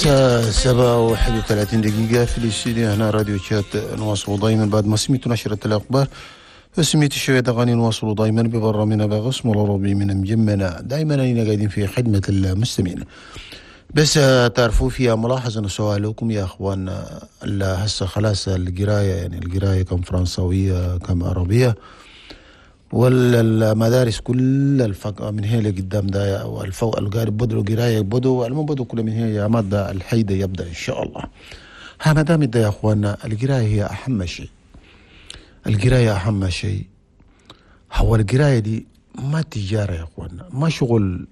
7:31 في الاستديو هنا راديو تشاد. نواصل دائما بعد ما سمعت نشرة الأخبار وسمعت شوية أغاني، نواصل دائما ببرنامجنا بغصم العربي من مجمنا. دائما أنا قاعدين في خدمة المستمعين. بس تعرفوا فيها ملاحظة نسويها لكم يا أخوان، هسه خلاص القراية، يعني القراية كم فرنساوية كم عربية، والمدارس كل الفق من هنا لقدام ده، والفوق القارب بدوا قراية بدوا المهم بدوا كل من هنا يا مادة الحيدة يبدأ إن شاء الله. ها ما دام يا أخواننا القراية هي أهم شيء، القراية أهم شيء. هو القراية دي ما تجارة يا أخواننا، ما شغل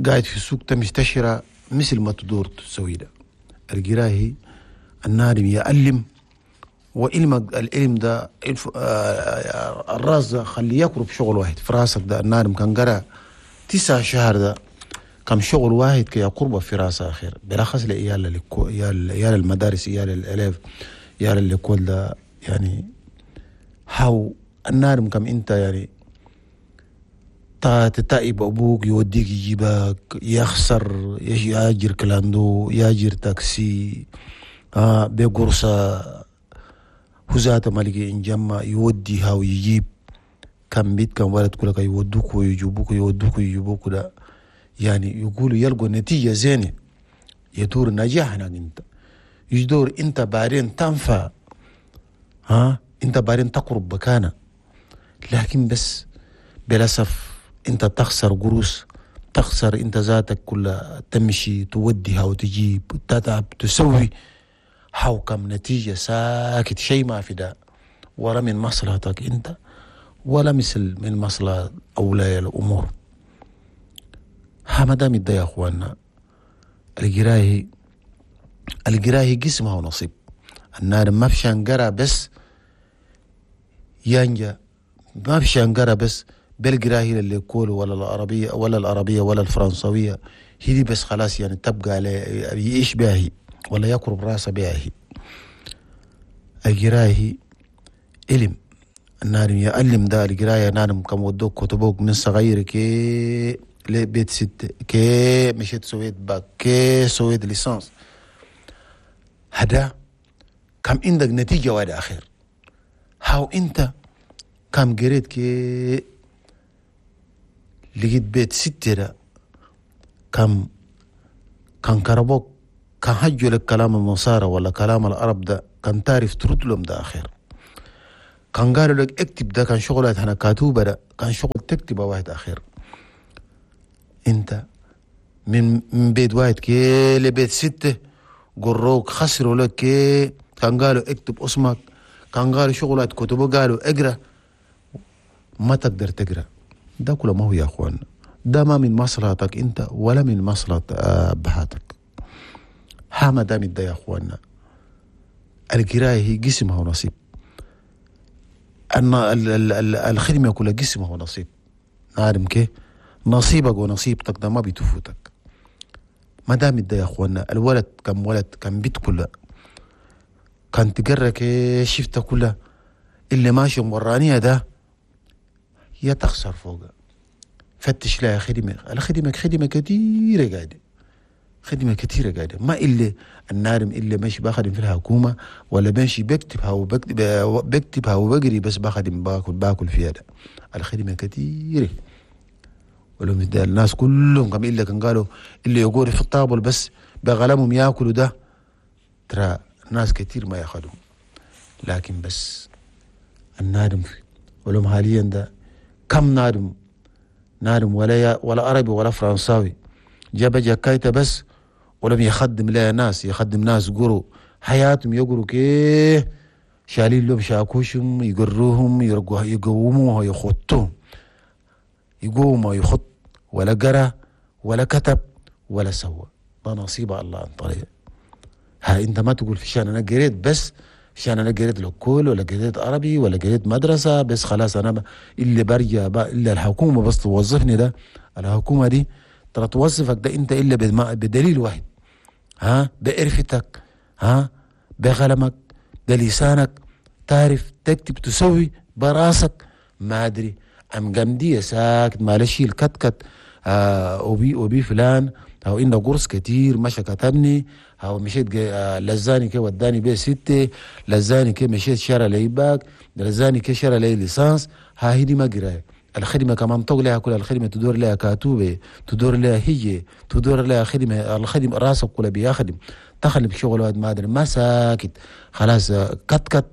قاعد في السوق تمشتشرة مثل ما تدور تسوي ده. القراية النادم يعلم، وعلمك العلم ده الراس ده خليه يقرب شغل واحد في راسك ده. النادم كان قرا 9 شهر ده كم شغل واحد كي يقرب في راسه آخر، بلخص لإيال إيال المدارس، إيال الألف، إيال اللي ده. يعني هاو النادم كم أنت يعني تتائب أبوك يوديك يجيبك، يخسر يأجر كلاندو، يأجر تاكسي، بقرصة هزات مالك إن يوديها ويجيب كم بيت كم ولد كلك يودوك ويجيبوك يودوك ويجيبوك ده. يعني يقولوا يلقوا نتيجة زينة، يدور نجاح هناك أنت، يدور أنت بعدين تنفع، ها أنت بعدين تقرب بكانة. لكن بس بلاسف أنت تخسر قروس، تخسر أنت ذاتك كلها، تمشي توديها وتجيب تتعب تسوي حو كم نتيجة ساكت شيء ما في ده، ولا من مصلحتك أنت ولا مثل من مصلحة أولياء الأمور. ها ما دام يا أخواننا القراية، القراية قسمها ونصيب. النار ما فيش قرا بس ينجا، ما فيش قرا بس بالقراية اللي يقولوا ولا العربية ولا العربية ولا الفرنسوية هي بس خلاص، يعني تبقى على يعيش بها هي ولا يقرب راسه بها هي. القراية علم، النار يعلم ده القراية. نارم كم ودوك كتبوك من صغير كي لبيت 6 كي مشيت سويت باك كي سويت licence، هذا كم عندك نتيجة واحدة أخير. هاو أنت كم قريت كي لقيت بيت 6 ده كم كان كربوك كان هجوا لك كلام النصارى ولا كلام العرب ده كان تعرف ترد لهم ده أخير. كان قالوا لك اكتب ده كان شغلات هنا كاتوبة ده كان شغل تكتبه واحد أخير. انت من بيت واحد كي لبيت 6 قروك خسروا لك كي كان قالوا اكتب اسمك، كان قالوا شغلات كتبه قالوا اقرا، ما تقدر تقرا. ده كله ما هو يا اخوان، ده ما من مصلحتك انت ولا من مصلحة ابهاتك. ها ما دام ده يا اخواننا القراية هي قسمها ونصيب، ان الخدمة كلها قسمها ونصيب. نعلم كي نصيبك ونصيبتك ده ما بتفوتك. ما دام ده يا اخوانا الولد كم ولد كم بيت كلها كان تقرك شفته كلها اللي ماشي ورانية ده يا تخسر فوقه. فتش لها خدمة، الخدمة خدمة كثيرة قاعدة، خدمة كثيرة قاعدة، ما إلا النارم إلا ماشي بخدم في الحكومة ولا ماشي بكتبها وبكتبها وبقري بس بخدم باكل فيها ده. الخدمة كثيرة ولو الناس كلهم كم إلا كان قالوا اللي يقول في الطابل بس بغلمهم ياكلوا ده، ترى ناس كثير ما ياخذوا. لكن بس النادم ولهم حاليا ده كم نادم نادم ولا عربي ولا فرنساوي جاب جاكايته بس ولم يخدم لا ناس، يخدم ناس قروا حياتهم يقروا كيه شالين لهم شاكوشهم يقروهم يقوموها يخطوهم يقوم ويخط ولا قرا ولا كتب ولا سوى. ده نصيب الله عن طريق. ها انت ما تقول في شان انا قريت بس، عشان انا قريت لكل ولا قريت عربي ولا قريت مدرسه بس خلاص انا اللي برجع الا الحكومة بس توظفني. ده الحكومة دي ترى توظفك ده انت الا بدليل واحد، ها بقرفتك، ها بقلمك، بلسانك، تعرف تكتب تسوي براسك. ما ادري ام جمدية ساكت معلش الكتكت، اوبي فلان هاو عندها قرص كتير مشى كتبني، هاو مشيت لزاني كي وداني بيه 6، لزاني كي مشيت شرى لي باك، لزاني كي شرى لي licence. ها هي دي ما قرايه. الخدمة كمان طق لها كل الخدمة تدور لها كاتوبة، تدور لها هي، تدور لها خدمة، الخدمة راسك كلها بيخدم، تخلي بشغل واحد ما أدري ما ساكت خلاص. كت كت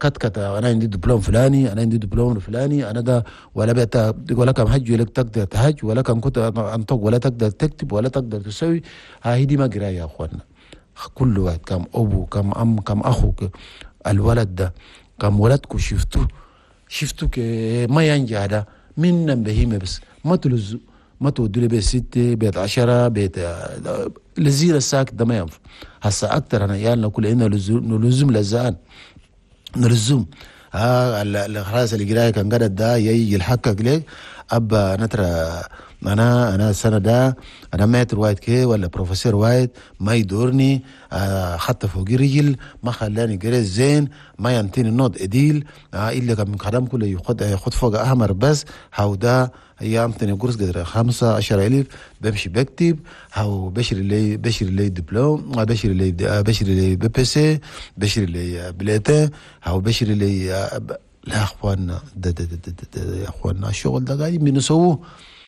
كت كت، أنا عندي دبلوم فلاني، أنا عندي دبلوم فلاني، أنا ده ولا بيت ولا كم حج ولا تقدر تهج ولا كم كنت أنطق ولا تقدر تكتب ولا تقدر تسوي. هاي دي ما قراية يا أخوانا. كل واحد كم أبو كم أم كم أخوك الولد ده كم ولدكم شفتوه ما ينجح ده من بهيمة بس ما تلزو ما تودوا لي بيت 6 بيت 10 بيت لزير الساكت ده ما ينفع. هسا أكتر أنا عيالنا كل إنه نلزم لزان نلزم خلاص القراية كان قدد ده يجي يلحقك لك أبا نترى أنا السنة ده أنا maître وايد كي ولا بروفيسور وايد ما يدورني، حتى فوق رجل ما خلاني قريت زين، ما ينتيني note إديل، إلا كان من خدم كله ياخد فوق أحمر بس. هاو ده ينطيني قرص قدر 15,000 بمشي بكتب، هاو بشري لي دبلوم، بشري لي BEPC، بشري لي bulletin، هاو بشري لي لا أخواننا ده ده ده ده ده ده يا أخواننا الشغل ده قاعدين بنسووه،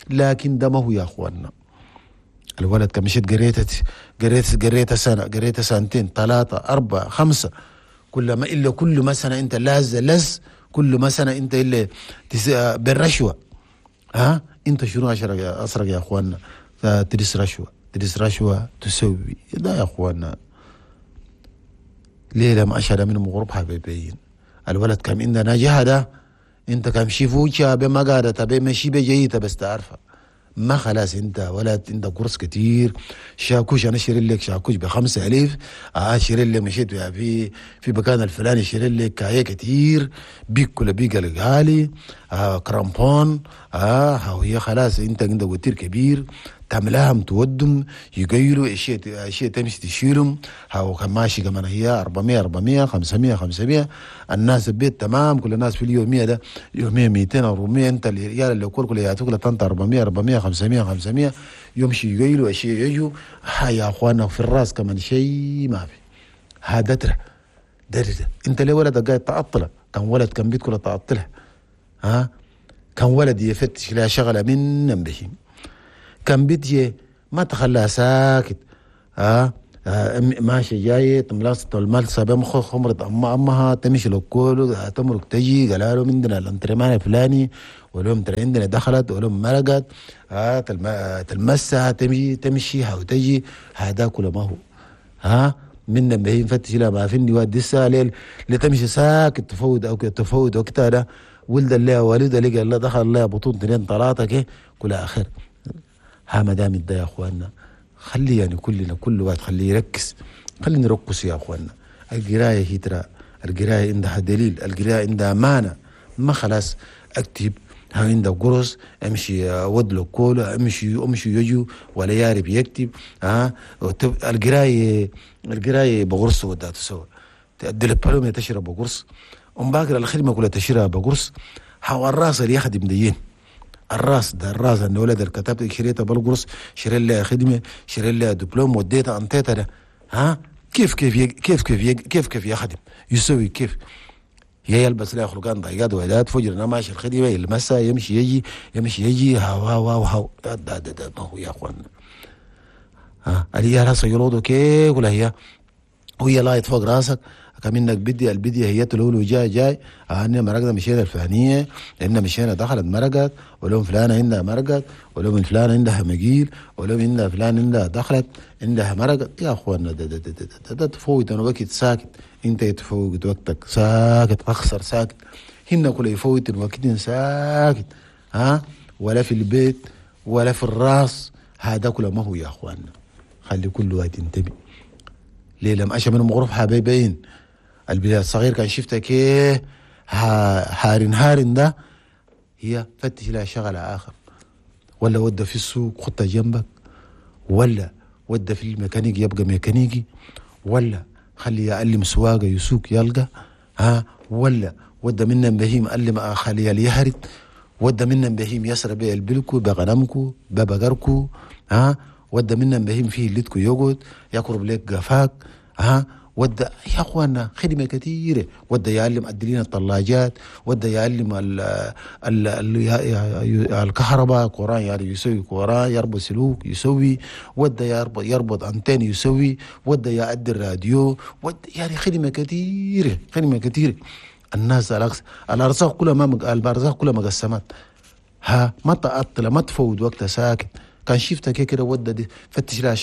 لكن ده ما هو يا أخواننا. الولد كان مشيت قريت سنة، قريت سنتين، 3 4 5، كل ما إلا كل ما سنة أنت لز كل ما سنة أنت إلا بالرشوة. ها أنت شنو أسرق يا أخواننا؟ تدس رشوة، تدس رشوة تسوي ده يا أخواننا. ليه لما أشهد من مغرب حبيبين الولد كم عندنا جهده، انت كم شيفوشا بما قادة بمشي بجيته بس تعرفه ما خلاص انت ولا انت قرص كتير شاكوش. انا شير لك شاكوش ب5,000، شير لك مشيت في مكان الفلاني شير لك كايه كتير بيك كل بيك الغالي، كرامبون، هي خلاص انت عندك وتير كبير تعملهم تودم يغيروا اشياء تمشي تشيلهم. هاو كان ماشي كمان هي 400 400 500 500 الناس البيت تمام، كل الناس في اليومية ده يومية 200 400، انت الريال اللي كل يعطوك لطنطا 400 400 500 500 يمشي يغيروا اشياء يجوا. ها يا اخوانا في الراس كمان شيء ما في. هذا ترى ده انت ليه ولدك قاعد تعطله؟ كان ولد كان بيت كله تعطله، ها كان ولد يفتش لها شغله من بهم، كان بيتي ما تخلى ساكت، ماشي جاي تملاس الملسة بمخ خمرة أمها تمشي لكله تمرق تجي قال له عندنا الانترمان الفلاني ولهم ترى عندنا دخلت ولهم مرقت، تلمسها تمشي أو تجي. هذا كله ما هو ها منا بهين فتش لا ما فيني واد لسه ليل تمشي ساكت تفوت أو تفوت وقتها ده ولد الله والد لقى الله دخل الله بطون 2 3 كي كل آخر. ها ما دام ده يا اخواننا خلي يعني كلنا كل واحد خليه يركز، خلينا نركز يا اخواننا. القراية هي ترى القراية عندها دليل، القراية عندها معنى، ما خلاص اكتب ها عندك قرص امشي ودلو كولا امشي يجو ولا يارب يكتب. ها القراية بقرص ودا تسوي الدبلوم تشرب بقرص، ام باكر الخدمة كلها تشرب بقرص. هو الراس اللي يخدم دين الراس ده الراس ان ولد الكتاب شريته بالقرص، شري لها خدمة، شري لها دبلوم، وديتها انطيتها ده. ها كيف كيف كيف كيف كيف كيف يخدم يسوي كيف يا يلبس له خلقان ضيقات وعدات فجر انا ماشي الخدمة يلمسها يمشي يجي يمشي يجي هاو هاو هاو هاو ده ده ده ما هو يا اخوان. ها اللي راسه يرودو كيف ولا هي وهي لايت فوق راسك كمنك بدي البديه هي تلولو جاي جاي انا مرقنا مشينا الفلانية لان مشينا دخلت مرقت ولهم فلانه عندها مرقت ولهم فلانه عندها مجيل ولهم عندها فلان عندها دخلت عندها مرقت. يا اخوانا ده ده ده ده, ده, ده تفوت انا وقت ساكت، انت تفوت وقتك ساكت اخسر ساكت، هن كل يفوت الوقت ساكت، ها ولا في البيت ولا في الراس. هذا كله ما هو يا اخوانا، خلي كل واحد ينتبه. ليه لما اشى من غرف حبيبين البلاد الصغير كان شفتك كيه هارن هارن ده هي فتش لها شغلة آخر، ولا ودى في السوق خطة جنبك، ولا ودى في الميكانيكي يبقى ميكانيكي، ولا خلي يعلم سواقة يسوق يلقى، ها ولا ودى منا بهيم علم خليه يهرد، ودى منا بهيم يسرى بيه البلكو بغنمكو ببقركو، ها ودى منا بهيم فيه اللي يقعد يقرب لك قفاك. ها ودى يا اخوانا خدمة كثيرة، ودى يعلم ادلين الطلاجات، ودى يعلم ال ال ال الكهرباء قران يعني يسوي قران، يربط سلوك يسوي، ودى يربط انتين يسوي، ودى يعدي الراديو، ودى يعني خدمة كثيرة، خدمة كثيرة. الناس الارزاق كلها ما الارزاق كلها مقسمات. ها ما تعطل، ما تفوت وقتها ساكت. كان شفتك كده ودى دي فتش لها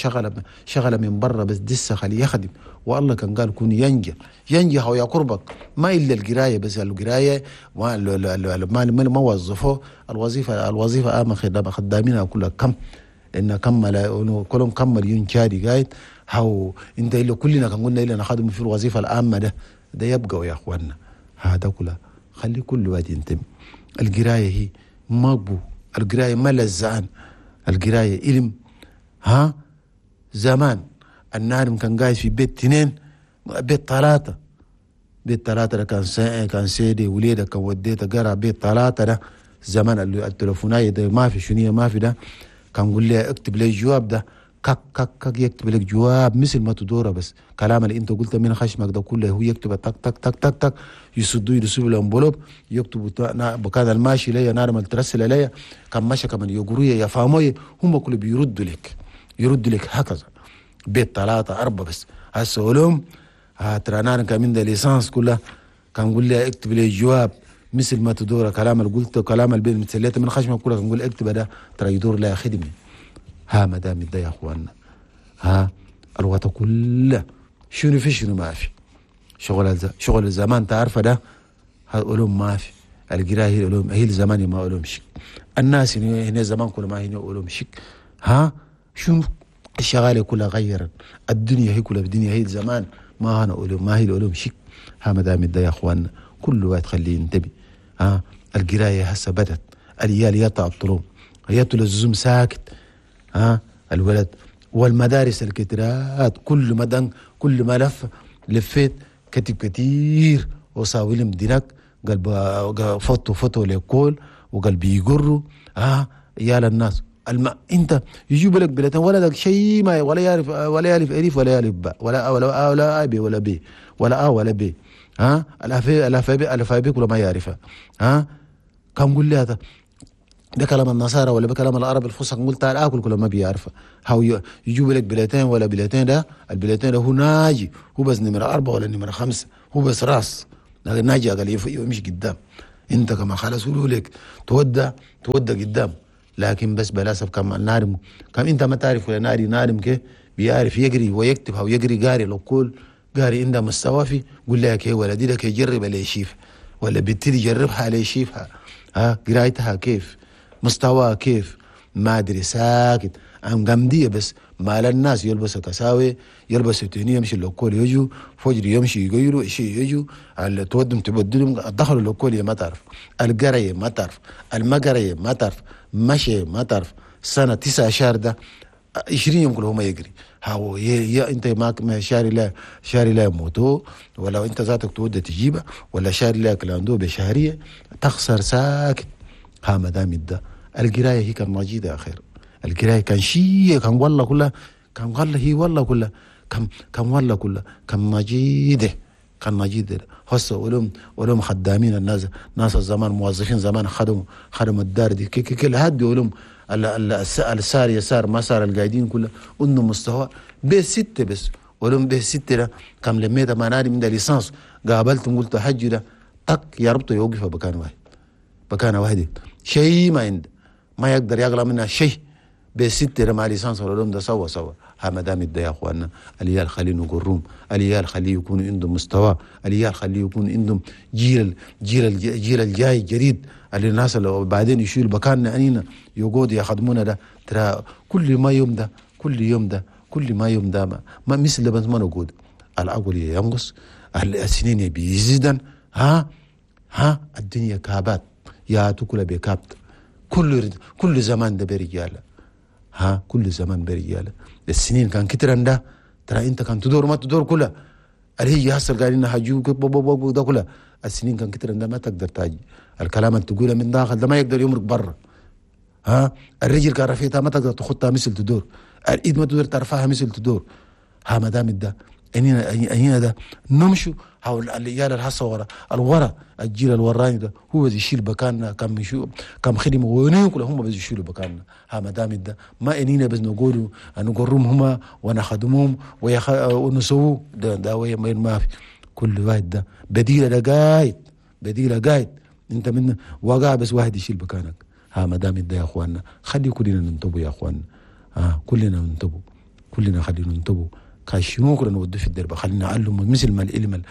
شغله من برا بس دسه خليه يخدم. والله كان قال كون ينجح ينجح ويا قربك، ما الا القراية بس، القراية ما وظفوه الوظيفة اما خدامينها كلها كم ان كم كلهم كم مليون شاري قايد. هاو انت الا كلنا كان قلنا الا نخدم في الوظيفة العامة ده يبقى يا اخواننا. هذا كله خلي كل واحد ينتمي. القراية هي ما القراية ما لزعان، القراية علم. ها زمان النارم كان قاعد في بيت 2 بيت 3 بيت 3 كان كان سيدي وليدك كان وديته قرا بيت 3 ده زمان التليفوناية ده ما في شنية ما في ده. كان قول لي اكتب لي الجواب ده، كك كك كك يكتب لك جواب مثل ما تدوره، بس كلام اللي انت قلته من خشمك ده كله هو يكتب تك تك تك تك تك، يسدوا يرسلوا الانبلوب يكتبوا بكذا الماشي ليا نار ما ترسل ليا كان ماشي كمان يقرويا يفهموا هم كله بيردوا لك، يردوا لك هكذا بيت 3 4 بس. هسه علوم ترى نار كمان ده ليسانس كلها كان قول لي اكتب لي جواب مثل ما تدور كلام اللي قلته كلام اللي مثلته من خشمك كله كان قول اكتب ده ترى يدور لها خدمة. ها ما دام ده يا اخواننا، ها الوقت كله شنو في شنو ما في. شغل الزمان تعرفه ده علوم ما في. القراية هي العلوم، هي الزمان ما علوم شك. الناس هنا زمان كله ما هنا علوم شك. ها شنو الشغاله كلها غيرت الدنيا، هي كلها الدنيا هي الزمان ما هنا علوم، ما هي العلوم شك. ها ما دام ده يا اخواننا كل واحد خليه ينتبه. ها القراية هسه بدت اليال يتعطلون يطلع الزوم ساكت. ها الولد والمدارس الكترات كل مدن كل ما لف لفيت كتب كتير وصاولم دينك قال فوتو ليكول وقال بيجروا. ها يا للناس انت يجيب لك بلتين ولدك شيء ما ولا يعرف ولا يعرف الف ولا يعرف باء ولا ولا ولا ا بي ولا بي ولا ا ولا بي. ها الالفابي كله ما يعرفها. ها كم قول لي هذا بكلام النصارى ولا بكلام العرب الفصحى نقول تعال اكل كله ما بيعرفه. هاو يجيب لك بلتين ولا بلتين ده البلتين ده هو ناجي، هو بس نمرة 4 ولا نمرة 5، هو بس راس لكن ناجي قال يمشي قدام. انت كما خلاص قولوا لك تودى قدام، لكن بس بلاسف كم نارم كم انت ما تعرف ولا ناري نارم كي بيعرف يجري ويكتب او يجري قاري لو كل قاري عنده مستوى في قول لك يا ولدي لك يجرب على يشيف ولا بنتي يجربها على يشيفها. ها قرايتها كيف مستواه كيف ما ادري ساكت ام قمديه بس مال الناس يلبسوا كساوي يلبسوا تهنيه يمشي لوكول يجوا فجر يمشي يغيروا شيء يجوا على تودم تبدلهم دخلوا لوكول ما تعرف القرية ما تعرف المقريه ما تعرف مشي ما تعرف سنة 9 شهر ده 20 يوم كلهم يجري. هاو يا انت ما شاري لا موتو ولا انت ذاتك تود تجيبه ولا شاري لك لاندو بشهريه تخسر ساكت. ها ما دام ده القراية هي كان مجيده خير. القراية كان شيء كان والله كلها كان والله هي والله كلها كان والله كلها كان مجيده كان مجيده. هسه علوم خدامين الناس ناس الزمان موظفين زمان خدموا الدار دي كل هدي علوم السار يسار ما صار القاعدين كلها انه مستوى ب 6 بس علوم ب 6 ده كم لميته ما ناري من ليسانس قابلتهم قلت حج ده طق يربطه يوقفه بكان واحد بكان واحد شيء ما عنده ما يقدر يغلى منها شيء ب6 مع ليسانس والعلوم ده سوا. ها ما دام ده يا اخواننا اليال خليه نقرهم، اليال خليه يكون عندهم مستوى، اليال خليه يكون عندهم جيل جيل جيل الجاي جديد اللي الناس اللي بعدين يشيل بكاننا انينا يقعدوا يخدمونا ده ترى كل ما يوم ده كل يوم ده كل ما يوم ده ما مثل بس ما نقول العقل ينقص السنين بيزيدن. ها الدنيا كابات يا تكل بكابت كل زمان ده برجاله. ها كل زمان برجاله السنين كان كترن ده ترى انت كان تدور ما تدور كلها اللي هي هسه قال لنا هجوك ده كلها السنين كان كترن ده ما تقدر تاجي الكلام اللي تقوله من داخل ده ما يقدر يمرق برا. ها الرجل كان رفيتها ما تقدر تخطها مثل تدور الايد ما تقدر ترفعها مثل تدور. ها ما دام ده انينا ده نمشوا حول العيال الحصة ورا الورا، الجيل الوراني ده هو بس يشيل بكاننا، كم يشو كم خدمة وين كلهم هم بس يشيلوا بكاننا. ها ما دام ده ما انينا بس نقولوا نقرهم هما ونخدمهم ونسووا ده وين ما في. كل واحد ده بديلة ده قايد، بديلة قايد، انت من وقع بس واحد يشيل بكانك. ها ما دام ده يا اخواننا خلي كلنا ننتبه يا اخواننا، كلنا ننتبه، كلنا خلينا ننتبه. كاشنو كلنا نودي في الدرب، خلينا نعلم مثل ما العلم.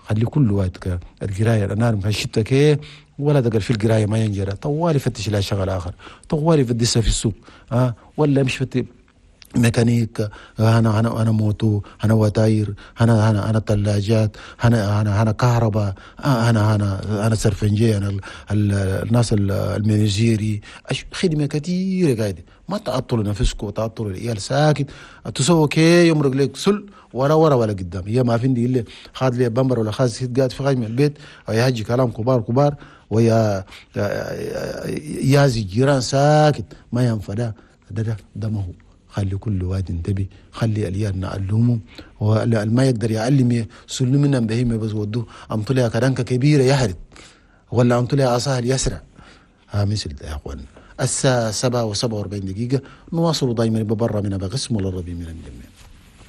خلي كل واحد القراية انا مشيت كي ولا دقل في القراية ما ينجرى، طوالي فتش لها شغل اخر، طوالي فتش في السوق، ولا مش فتش ميكانيك، انا انا انا moto، انا وتاير، انا انا انا ثلاجات، انا انا انا كهرباء، انا انا انا سرفنجي، انا الناس ال menuiserie، خدمة كثيرة قاعدة. ما تعطلوا نفسكم وتعطلوا العيال ساكت، تسووا كي يمرق لك سل ورا ورا ولا قدام. هي ما فيني اللي خاد لي بمبر ولا خاد سيد قاعد في غايم البيت ويهجي كلام كبار كبار ويا يازي جيران ساكت ما ينفع. ده ده ده ما هو. خلي كل واحد ينتبه، خلي اليال نعلمه، ما يقدر يعلم سلمنا بهيمة بس ودوه أم طلع كرنكة كبيرة يهرد ولا أم طلع عصاه يسرع. ها مثل ده يا أخوان. الساعة 7:47، نواصل دائما ببرا من بقسم ولا ربي من الجميع.